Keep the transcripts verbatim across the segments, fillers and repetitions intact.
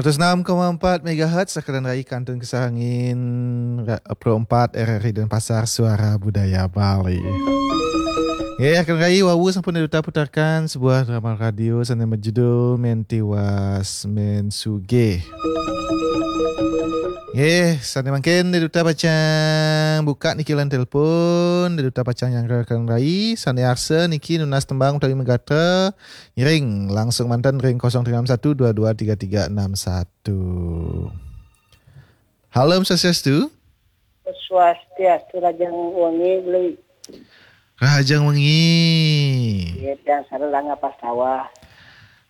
Seratus enam koma empat megahertz, rakan rai, kantun kesah angin, ra-, Pro empat R R I Denpasar, Suara Budaya Bali. Nggih, rakan rai, wau sampun Dé Duta putarkan sebuah drama radio sané berjudul Men Tiwas Men Sugih. Nggih, sané mangkin Dé Duta pacang buka niki line telepon, Dé Duta pacang nyanggra rakan rai sané arsa niki nunas tembang utawi magatra, ngiring langsung manten ring kosong tiga enam satu dua dua tiga tiga enam satu. Halo, Om Swastiastu. Swastiastu, rahajeng wengi, Bli. Rahajeng wengi. Nggih, tiang sareng Rangga Pastawa.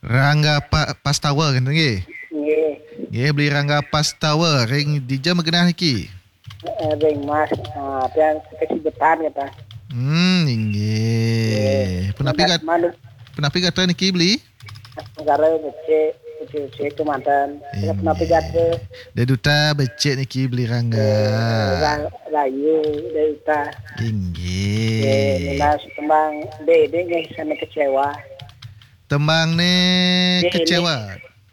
Rangga Pa-, Pastawa, kan, nggih? Nggih. Nggih, Bli Rangga Pastawa, ring dija magenah niki? Eh, ring Mas, ah, tiang Kecibetan, kata. Hmm, inggih. Nggih. Punapi gat-, manu- punapi gatra niki, Bli? Negara becik, becik-becik kemanten. Inggih. Punapi gatra? Dé Duta becik niki, Bli Rangga. Eh, ra-, rahayu, Dé Duta. Inggih. Nggih, nunas tembang Dé, Dé nggih, sané kecewa. Tembang né Dé Enik. Kecewa.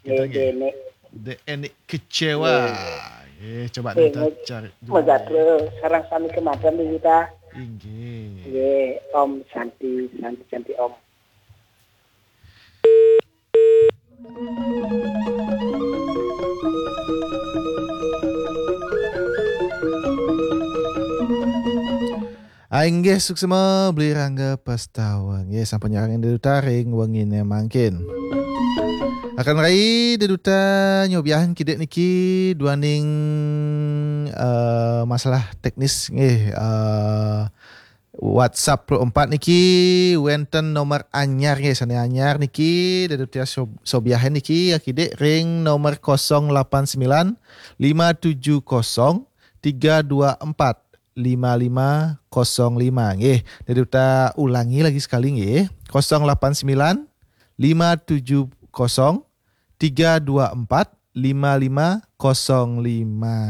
Nggih, Dé Enik. Dé Enik kecewa. Nggih. Nggih, coba Dé Duta cari dulu. Magatra sareng sami kemanten, Dé Duta. Inggih. Nggih, Om Santi, Santi, Santi, Om. Ah, inggih, suksma Bli Rangga Pastawa. Nggih, sampun nyarengin Dé Duta ring wenginé mangkin. Rakan rai, Dé Duta nyobiahin kidik niki duaning, eh, masalah teknis nggih, eh, WhatsApp Pro empat niki wénten nomor anyar nggih, sané anyar niki Dé Duta sob-, sobiahin niki akidik ring nomor kosong lapan sembilan lima tujuh kosong tiga dua empat lima lima kosong lima nggih. Dé Duta ulangi lagi sekali nggih. Kosong lapan sembilan lima tujuh kosong tiga dua empat lima lima kosong lima.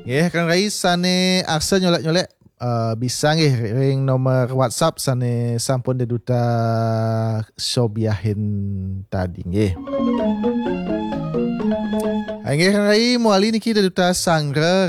Nggih, rakan rai sané arsa nyolék-nyolék, eh, bisa nggih ring nomor WhatsApp sané sampun Dé Duta sobiahin tadi nggih. Ah, inggih, rakan rai, mawali niki Dé Duta sanggra